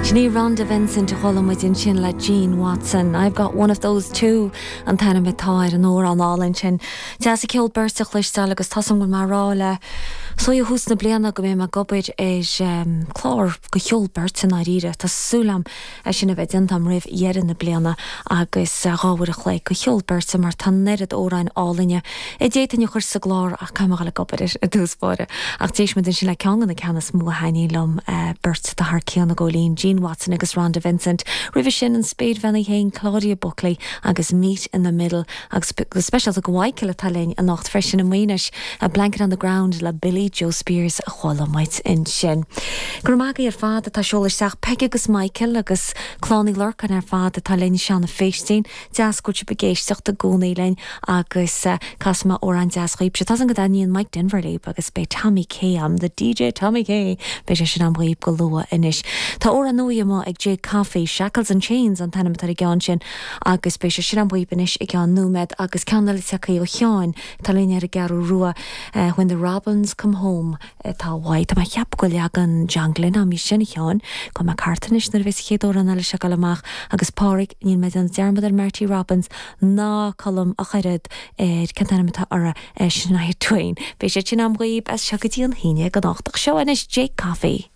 Sin í Rhonda Vincent a chuala muid ansin le Gene Watson. I've got one of those too an t-ainm atá ar an amhrán álainn sin. Deas an ceol beirte a chloisteáil agus tá 's agam go bhfuil mé ag rá le so ó thús na bliana go mbeidh mé ag obair ar chlár de cheol beirte i ndáiríre. Tá súil agam é sin a bheith déanta agam roimh dheireadh na bliana agus 2 uair a chloig de cheol beirte mar tá an oiread amhráin álainne a d'fhéadfainn a chur sa gclár ach caithfidh mé a dhul ag obair air i dtús báire. Ach d'éist muid ansin le ceann de na ceanna is mó a thaitníonn liom, beirt atá thar cionn i gcóilín, Gene Watson agus Rhonda Vincent. Roimhe sin, an spéirbhean í féin, Claudia Buckley agus Meet in the Middle agus go speisialta do Mhichael atá linn anocht freisin i Maínis, A Blanket on the Ground le Billie Jo Spears a chuala muid ansin. Go raibh maith agaibh ar fad atá ag seoladh isteach, Peig agus Michael agus Clann Uí Lorcáin ar fad atá linn, Seán Phéistín, deas go bhfuil sibh ag éisteacht i gcónaí linn agus casfaidh mé amhrán deas dhaoibhse. Tá 's agam go dtaitníonn Mike Denver libh agus beidh Tommy K a'm, the DJ Tommy K, beidh sé sin a'm dhaoibh go luath anois. Tá amhrán nua amuigh ag Jake Coffey, Shackles and Chains an t-ainm atá ar an gceann sin agus beidh sé sin a'm dhaoibh anois i gceann nóiméad agus ceann eile tagtha ó Sheáin atá linn ar an gCeathrú Rua, When the Robins Come Home atá uaidh. Tá mé ag ceapadh go bhfuil leagan John Glynn a'm dhe sin, a Sheáin. Gabhfaidh mé thart anois nuair a bheas an chéad amhrán eile seo ag dul amach agus Páraic, níl mé ag déanamh dearmad ar Marty Robbins ná Colm ach oiread ar cén t-ainm atá uirthi, Shania Twain. Beidh siad sin a'm dhaoibh as seo go dtí an haon dhéag anocht. Ach seo anois Jake Coffey.